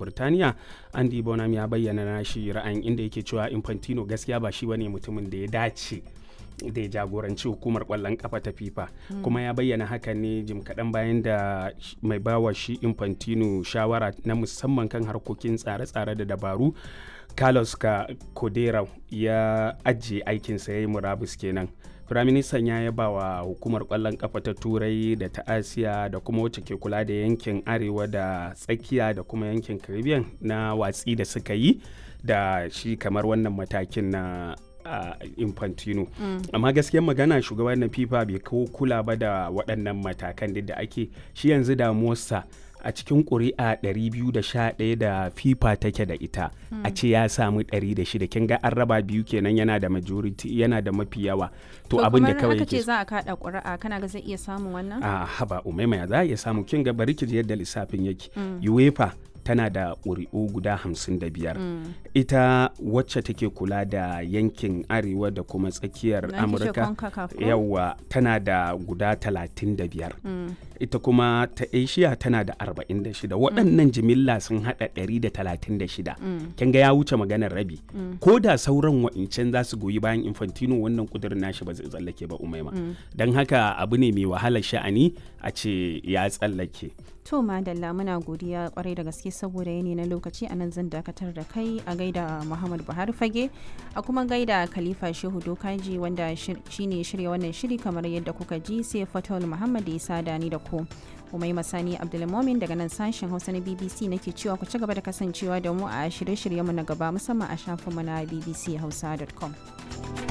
Burtaniya Andy Bonham ya bayyana nashi ra'ayin, inda yake cewa Infantino gaskiya ba shi bane mutumin da ya dace da ya jagoranci hukumar kwallon kafa ta FIFA. Kuma ya bayyana hakan ne jim kaɗan bayan da mai bawa shi Infantino shawara na musamman kan harkokin tsare-tsare da dabaru, Carlos Codera, ya ajiye aikinsa, ya yi murabus kenan. Firaministan ya yaba wa hukumar kwallon kafa ta Turai da ta Asiya da kuma wacce ke kula da yankin Arewa da Tsakiya da kuma yankin Caribbean na watsi da suka yi da shi kamar wannan matakin na Infantino. Amma gaskiyar magana, shugaban na FIFA bai kawo kula ba da waɗannan matakan duk da ake shi. Yanzu damuwarsa a cikin ƙuri'a 211 da FIFA take da ita, a ce ya samu 106, kin ga an raba biyu kenan, yana da majority, yana da mafi yawa. To abin da kawai aka ce za a kada ƙuri'a, kana ga zai iya samun wannan? A haba Umaima, ya za a iya samu? Kin ga, bari ki ji yadda lissafin yake. UEFA tana da ƙuri'u guda 55. Ita wacce take kula da yankin Arewa da kuma Tsakiyar Amurka, yawa, tana da guda 35. Ita kuma ta Asia tana da 46. Waɗannan jimilla sun haɗa 136. Kin ga ya wuce maganar rabi. Ko da sauran wa'incan za su goyi bayan Infantino, wannan ƙudurin nashi ba zai tsallake ba, Umaima. Don haka abu ne mai wahalar sha'ani a ce ya tsallake. To madalla, muna godiya kwarai da gaske. Saboda yini na lokaci, a nan zan dakatar da kai. A gaida Muhammad Buhari Fage, a kuma gaida Khalifa Shehu Dokaji wanda shine shirya wannan shiri kamar yadda kuka ji, sai Fatawul Muhammad ya sada ni da ku. Umaima Sani Abdulmomin daga nan sashen Hausa na BBC nake cewa ku ci gaba da kasancewa da mu a shirye-shiryenmu na gaba, musamman a shafinmu na bbchausa.com.